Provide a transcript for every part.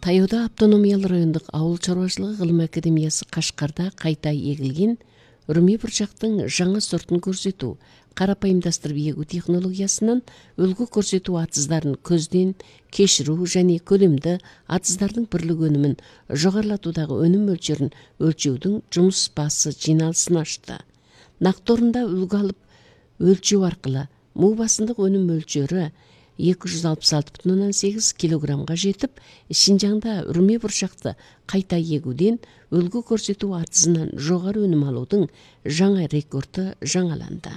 Таяуда автономиялуу райондук абал чарбачылыгы гылым академиясы Кашкарда кайта эгилген өрмөй бурчактын жаңы сортун көрсөтүү, карапайымдастырып эгүү технологиясынан өлгү көрсөтүү атыздарын көздөн кечирүү және көлөмдө атыздардын бирлик өнүмүн жогорулатуудагы өнүм мөлчөрүн өлчөөдүн жумуш баасы жыйналысын ачты. Нактоорунда үлгү алып өлчөө аркылуу муу басымдык өнүм мөлчөрү 266,8 килограммга жетип, Шинжаңда өрмөй бурчакты кайта эгүүдөн өлгү көрсөтүү атызынан жогору өнүм алуудун жаңы рекорду жаңаланды.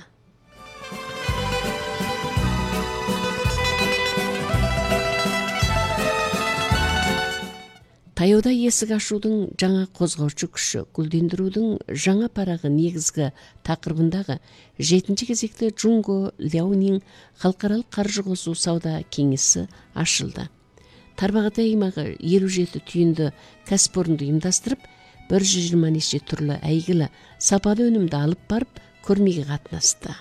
Таяуда эсик ашуудун жаңа козгоочу күчү, гүлдөндүрүүдүн жаңа парагы негизги такырыбындагы 7-кезекте Жунго Ляонин Халкаралык каржы кошуу сауда кеңеси ачылды. Тарбагат аймагы 57 түйүндө кәсіпорунду уюмдастырып, 120 нече түрлүү әйгілі сапалы өнүмдү алып барып, көрмеге катнашты.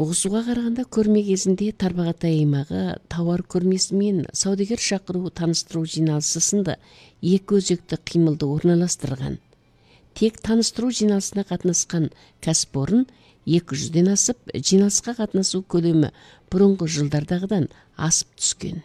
Угусууга караганда көрме кезинде Тарбагат аймагы товар көрмеси менен саудагер шакыруу тааныштыруу жыйналышы сынды эки өзөктү кыймылды орналаштырган. Тек тааныштыруу жыйналышына катнашкан кәсіпорун 200ден асып, жыйналышка катнашуу көлөмү мурунку жылдардагыдан асып түскөн.